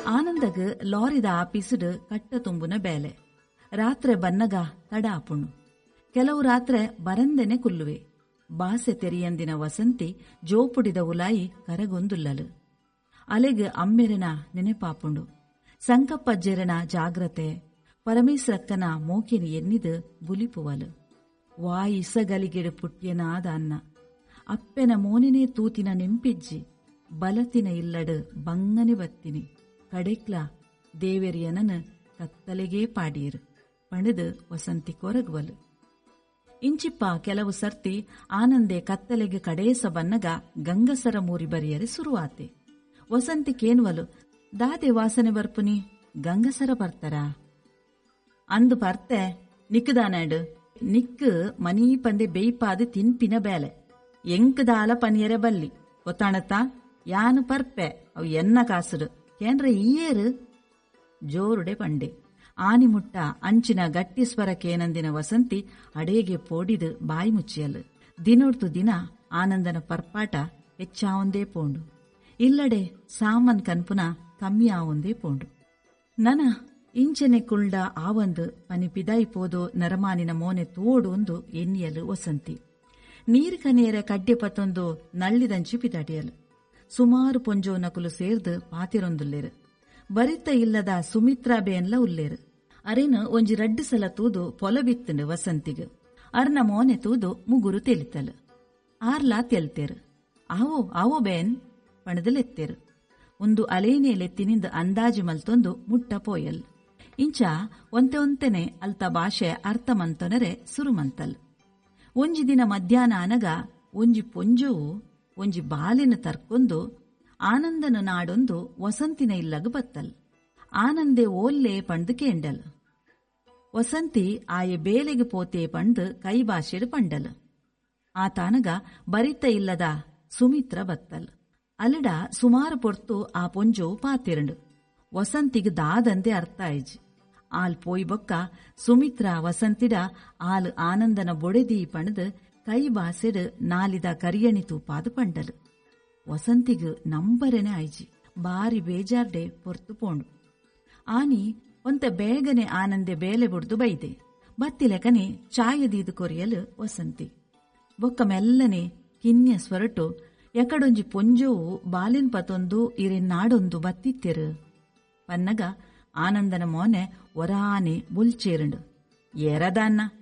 ಆನಂದಗ್ ಲಾರಿದ ಆಫೀಸ್ಡ್ ಕಟ್ಟ ತುಂಬುನ ಬೇಲೆ. ರಾತ್ರೆ ಬನ್ನಗ ತಡ ಆಪುಂಡು. ಕೆಲವು ರಾತ್ರೆ ಬರಂದೆನೆ ಕುಲ್ಲುವೆ. ಬಾಸೆ ತೆರಿಯಂದಿನ ವಸಂತಿ ಜೋಪುಡಿದ ಉಲಾಯಿ ಕರಗೊಂದುಲ್ಲಲ್. ಅಲೆಗ್ ಅಮ್ಮೆರೆನ ನೆನೆಪಾಪುಂಡು. ಸಂಕಪ್ಪಜ್ಜೆರೆನ ಜಾಗ್ರತೆ, ಪರಮೇಸ್ರಕ್ಕನ ಮೋಕೆನ್ ಎನ್ನಿದ್ ಬುಲಿಪುವಲ್. ವಾ ಇಸಗಲಿಗೆಡ್ ಪುಟ್ಯೆನಾ ದಾನ್ನ. ಅಪ್ಪೆನ ಮೋನೆನೇ ತೂತಿನ ನೆಂಪಿಜ್ಜಿ. ಬಲತಿನ ಇಲ್ಲಡ್ ಬಂಗನೆ ಬತ್ತಿನಿ. ಕಡೆಕ್ಲ ದೇವೆರ್ ಎನನ್ ಕತ್ತಲೆಗೇ ಪಾಡಿಯೆರ್ ಪಂಡುದ್ ವಸಂತಿ ಕೊರಗ್ವಲ್. ಇಂಚಿಪ್ಪ ಕೆಲವು ಸರ್ತಿ ಆನಂದೆ ಕತ್ತಲೆಗ್ ಕಡೇಸ ಬನ್ನಗ ಗಂಗಸರ ಮೂರಿ ಬರಿಯರೆ ಸುರುವಾತೆ. ವಸಂತಿ ಕೇನ್ವಲ್, ದಾದೆ ವಾಸನೆ ಬರ್ಪುನಿ, ಗಂಗಸರ ಪರ್ತರಾ? ಅಂದ್ ಪರ್ತೆ, ನಿಕ್ ದಾನಾಂಡ್? ನಿಕ್ಕ್ ಮನೀಪಂದೆ ಬೆಯ್ಪಾದ್ ತಿನ್ಪಿನ ಬೇಲೆ. ಎಂಕ್ ದಾಲ ಪನಿಯರೆ ಬಲ್ಲಿ, ಗೊತ್ತಾಂಡತ್ತಾ? ಯಾನ್ ಪರ್ಪೆ, ಅವು ಎನ್ನ ಕಾಸ್ಡ್. ಕೇಂಡ್ರೆ ಈಯೇರ್? ಜೋರುಡೆ ಪಂಡೆ. ಆನಿ ಮುಟ್ಟ ಅಂಚಿನ ಗಟ್ಟಿ ಸ್ವರ ಕೇನಂದಿನ ವಸಂತಿ ಅಡೇಗೆ ಪೋಡಿದ್ ಬಾಯಿ ಮುಚ್ಚಿಯಲ್. ದಿನೊಡ್ದು ದಿನ ಆನಂದನ ಪರ್ಪಾಟ ಹೆಚ್ಚಾವೊಂದೇ ಪೋಂಡು. ಇಲ್ಲಡೆ ಸಾಮನ್ ಕನ್ಪುನ ಕಮ್ಮಿ ಆವೊಂದೇ ಪೋಂಡು. ನನ ಇಂಚೆನೆ ಕುಲ್ಲ್ಡ ಆವಂದ್ ಪನಿ ಪಿದಾಯಿ ಪೋದು ನರಮಾನಿನ ಮೋನೆ ತೂವೊಡೂಂದು ಎನ್ನಿಯಲ್ ವಸಂತಿ. ನೀರ್ ಕನಿಯೆರೆ ಕಡ್ಯ ಪತೊಂದು ನಳ್ಳಿದಂಚಿ ಪಿದಾಡಿಯಲ್. ಸುಮಾರ್ ಪೊಂಜೊವುನಕುಲು ಸೇರ್ದ್ ಪಾತೆರೊಂದುಲ್ಲೆರ್. ಬರಿತ್ತ ಇಲ್ಲದ ಸುಮಿತ್ರಾ ಬೇನ್ಲ ಉಲ್ಲೆರ್. ಅರೆನ್ ಒಂಜಿ ರಡ್ಡ್ ಸಲ ತೂದು ಪೊಲಬಿತ್ತ್ಂಡ್ ವಸಂತಿಗ್. ಅರ್ನ ಮೋನೆ ತೂದು ಮುಗುರು ತೆಲಿತಲ್. ಆರ್ಲಾ ತೆಲ್ತೆರ್. ಆವೋ ಆವೋ ಬೇನ್ ಪಂಡ್ದ್ ಲೆತ್ತೆರ್. ಉಂದು ಅಲೇನೇ ಲೆತ್ತಿನಿಂದ್ ಅಂದಾಜಿ ಮಲ್ತೊಂದು ಮುಟ್ಟ ಪೋಯಲ್. ಇಂಚ ಒಂತೆ ಒಂತೆನೆ ಅಲ್ತ ಭಾಷೆ ಅರ್ಥ ಮಂತೊನರೆ ಸುರು ಮಂತಲ್. ಒಂಜಿ ದಿನ ಮಧ್ಯಾಹ್ನ ಆನಗ ಒಂಜಿ ಪೊಂಜೊವು ಒಂಜಿ ಬಾಲೆನ್ ತರ್ಕೊಂದು ಆನಂದನ್ ನಾಡೊಂದು ವಸಂತಿನ ಇಲ್ಲಗ್ ಬತ್ತಲ್. ಆನಂದೆ ಓಲ್ಲೆ ಪಂಡ್ದ್ ಕೇಂಡಲ್. ವಸಂತಿ ಆಯೆ ಬೇಲೆಗ್ ಪೋತೆ ಪಂಡ್ದ್ ಕೈ ಭಾಷೆಡ್ ಪಂಡಲ್. ಆತಾನಗ ಬರಿತ ಇಲ್ಲದ ಸುಮಿತ್ರ ಬತ್ತಲ್. ಅಲೆಡ ಸುಮಾರ್ ಪೊರ್ತು ಆ ಪೊಂಜೊವು ಪಾತೆರ್ಂಡ್. ವಸಂತಿಗ್ ದಾದಂದೆ ಅರ್ಥ ಆಯಿಜಿ. ಆಲ್ ಪೋಯಿ ಬೊಕ್ಕ ಸುಮಿತ್ರ ವಸಂತಿಡ ಆಲ್ ಆನಂದನ ಬೊಡೆದಿ ಪಂಡ್ದ್ ಕೈ ಬಾಸೆಡ್ ನಾಲಿದ ಕರಿಯಣಿ ತೂಪಾದ್ ಪಂಡಲ್. ವಸಂತಿಗ್ ನಂಬರೆನೆ ಆಯಿಜಿ. ಬಾರಿ ಬೇಜಾರ್ಡೆ ಪೊರ್ತು ಪೋಂಡು. ಆನಿ ಒಂತೆ ಬೇಗನೆ ಆನಂದೆ ಬೇಲೆ ಬುಡ್ದು ಬೈದೆ. ಬತ್ತಿಲೆಕನೆ ಚಾಯ ದೀದ್ ಕೊರಿಯಲ್ ವಸಂತಿ. ಬೊಕ್ಕ ಮೆಲ್ಲನೆ ಕಿನ್ಯ ಸ್ವರಟು ಎಕಡೊಂಜಿ ಪೊಂಜೊವು ಬಾಲೆನ್ ಪತೊಂದು ಇರೆನ್ ನಾಡೊಂದು ಬತ್ತಿತ್ತೆರ್ ಪನ್ನಗ ಆನಂದನ ಮೋನೆ ಒರಾನೆ ಬೊಲ್ಚೇರ್ಂಡ್. ಏರದಾನ್ನ?